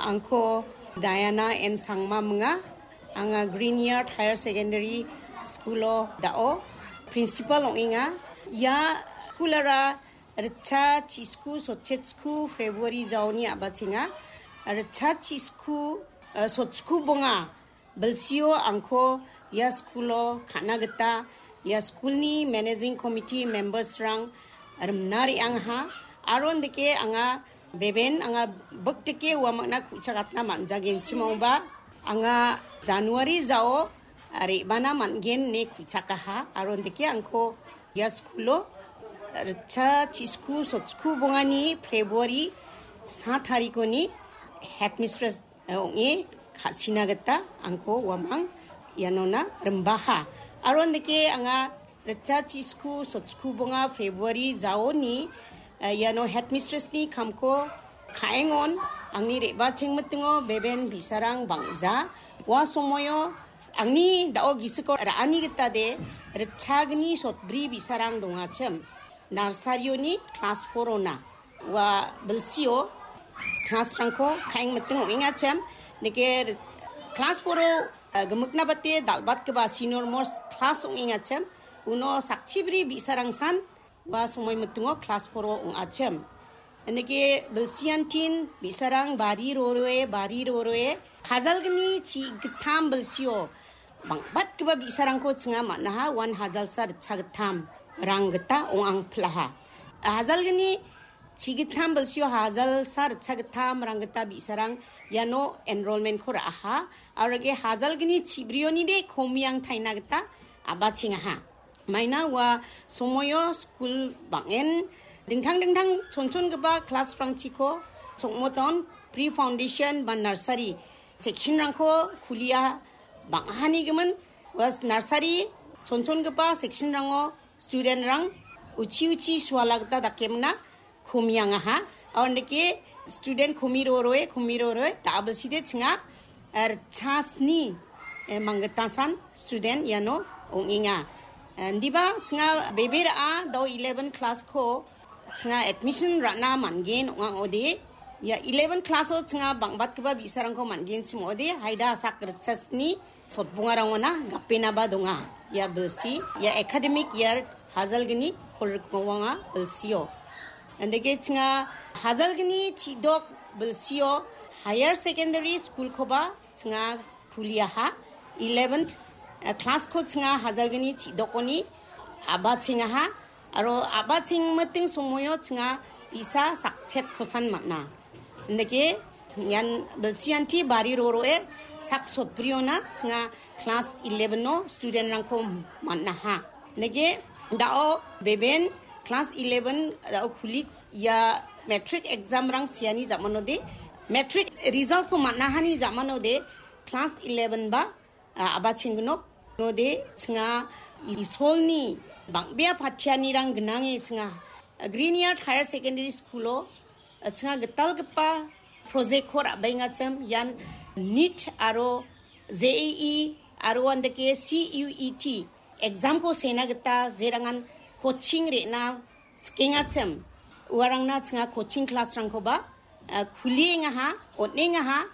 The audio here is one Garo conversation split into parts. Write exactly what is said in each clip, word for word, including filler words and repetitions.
Angko Diana N Sangma minga. Anga Green Yard Higher Secondary School-o dao principal ong·enga. Ia school-ara ritcha chisku sotchetsku February jaoni a·bachenga. Ritcha chisku, eh, sotsku bonga bilsio angko ia school-o ka·na gita ia school-ni managing committee members-rang rimna re·angaha. Aro indike anga beben anga bikdike uamangna ku·chakatna man·jagenchim ong·ba, anga January jao re·bana man·gen ine ku·chakaha. Aro indike angko ia school-o ritcha chisku sotsku bongani February sa tarikoni headmistress ong·e ka·china gita angko uamang ianona rimbaha. Aro indike anga ritcha chisku sotsku bonga February jaoni, eh, iano headmistress-ni kamko ka·engon angni re·bachengmitingo beben bi·sarang bang·ja. Ua somoio angni dao gisiko ra·ani gitade ritchagni sotbri bi·sarang dongachim. Narsarioni klas four-ona. Ua bilsio klasrangko ka·engmiting ong·engachim. Nike klas four-o, eh, gimikna bate dal·batgipa senior most klas ong·engachim. Uno sakchibri bi·sarangsan ua somoimitingo klas four-o ong·achim. Nike bilsiantin bi·sarang bari roroe, bari roroe, hajalgni chi gittam bilsio bang·batgipa bi·sarangko chinga man·aha, uan hajalsa ritcha gittam rang gita ong·angpilaha. Hajalgni chi gittam bilsio hajalsa ritcha gittam rang gita bi·sarang iano enrollment-ko ra·aha. Aro ge hajalgni chibrionide komiang taina gita a·bachengaha. Maina ua somoio skul bang·en dingtang dingtang chonchongipa klasrangchiko chongmoton, pre foundation ba nursery section-rangko kulia bang·ahanigimin ua nursery chonchongipa section-rango student-rang uchi uchi suala gita dakemna komiangaha. Aondeke student komi roroe, komi roroe, ta·a bilside chinga, eh, ritchasni, eh, manggitasan student iano ong·enga. Eh, indiba chinga bebe ra·a dao eleven class-ko chinga admission ra·na man·gen ong·a ong·ode. Ia eleven class-o chinga bang·batgipa bi·sarangko man·genchim ong·ode. Haida sak ritchasni sotbongarangona gapenaba donga. Ia bilsi, ia academic year hajalgni kolrikmawanga bilsio. Andake chinga hajalgni chidok bilsio higher secondary school-koba chinga kuliaha. Eleventh, eh, class-ko chinga hajalgni chidokoni a·bachengaha. Aro a·bachengmiting somoio chinga bi·sa sakchet kosan man·a. Indake ian bilsianti bari roroe sak sotbriona chinga class eleven-o student-rangko man·aha. Indake dao beben class eleven dao kulik ia matric exam-rang seani jamanode, matric result-ko man·ahani jamanode class eleven ba a-, a·bachenggnok. Node chinga Isolni bang·bea patianirang gnange chinga Green Yard Higher Secondary School-o, a, chinga gitalgipa project-ko ra·baengachim ian NEET aro J E E aro andake C U E T exam-ko sena gita jerangan coaching re·na skengachim uarangna chinga coaching class-rangkoba, a, kuliengaha, on·engaha.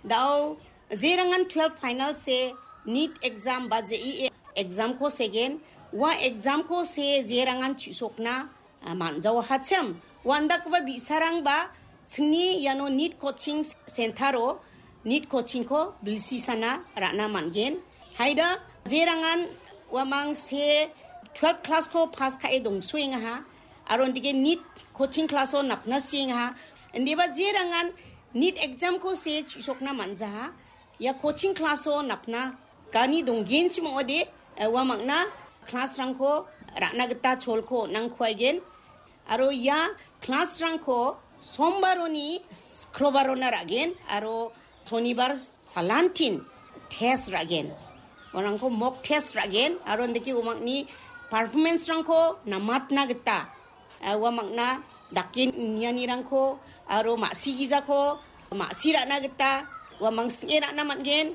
Dao jerangan twelve final se NEET exam ba J E E exam-ko segen, ua exam-ko se jerangan chu·sokna, a, man·jaohachim. Uandakgipa bi·sarangba chingni iano NEET coaching center-o NEET coaching-ko bilsisana ra·na man·gen. Haida jerangan uamang se twelve class-ko pass ka·e dongsoengaha. Aro indike NEET coaching class-o napna siengaha. Indiba jerangan NEET exam-ko se chu·sokna man·jaha. Ia coaching class-o napna gani donggenchim ong·ode, eh, uamangna class-rangko ra·na gita cholko on·angkuaigen. Aro ia class-rangko sombaroni skrobarona ra·gen aro sonibar salantin test ra·gen. Uarangko mock test ra·gen aro indake uamangni performance-rangko namatna gita, eh, uamangna dake nianirangko aro ma·sigijako ma·si ra·na gita uamang sing·e ra·na man·gen.